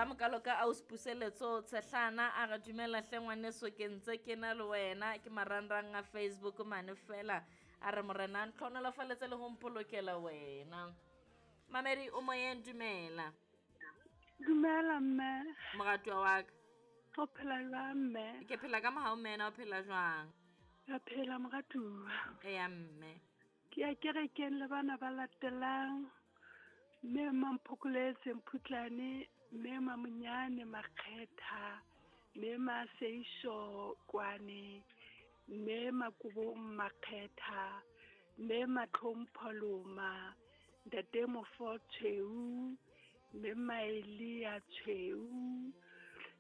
a mokalo ka aus puseletso tshehlana a re dumela hle ngwaneso ke ntse ke na le wena ke marangrang a Facebook mane fela a re morena a ntlhonolofaletse le go mpolokela wena. Mamedi o moyeng dumela. Dumela mme. Moratuwa wa ka. O phela jwang mme? Ke phela ka mohau mme na o phela jwang? Ka phela moratuwa. Eya mme. Ke ya kerekeng le bana ba latelang. Mme Mamphokoletse Mphutlane, mme Mamonyane Makgetha, mme Maseiso Kwane, mme Makobong Makgetha, mme Matlhompho Loma, ntate Mofo Tshweu, mme Maelia Tshweu,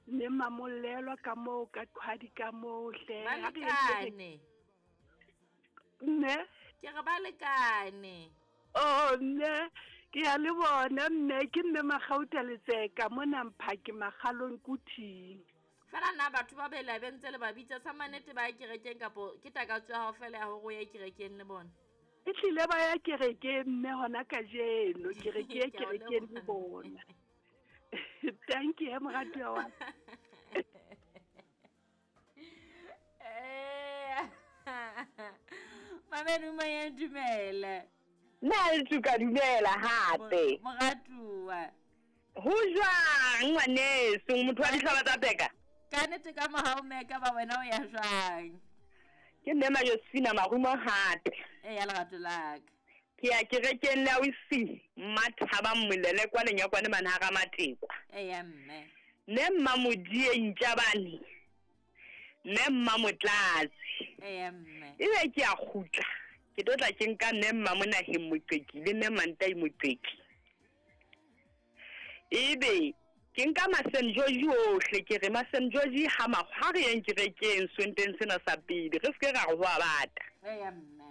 mme Mamolelwa ka moo ka qhwadi ka moo hle. Ba lekane. Mme? Ke re ba lekane. Oh mme ke ya le bona mme ke mme Magauta Letseka mona Mphake Magalong Kuthing. Fela na batho ba bele be ntse le ba bitsa sa manete ba ya kerekeng kapo ke takatso ya hao fela ya hore o ye kerekeng le bona? E tlile ba ya kerekeng mme hona kajeno ke re ke ye kerekeng le bona. Thank you moratuwa wa. Mamedi moyeng dumela. Nna le ka dumela hape. Moratuwa. Ho jwang ngwaneso motho wa dihlaba tsa peka? Ka nnete ka mohau mme ka ba wena o ya jwang? Ke mme Majosefina Marumo hape. Eya lerato la ka. Ke ya kerekeng le ausi Mmathabang Molele kwa Lenyakwane mane ha Ramatekwa. Eya mme. Mme Mmamodie Ntjabane. Mme Mmamotlatsi. Eya mme. Ebe ke a kgutla. Ke tlo tla ke nka mme Mmamonaheng Moqeki le mme Mantai Moqeki. Ebe ke nka ma-St George ohle ke re ma-St George ha ha re yeng kerekeng sonteng sena sa pele re se ke ra re ho a bata. Eya mme.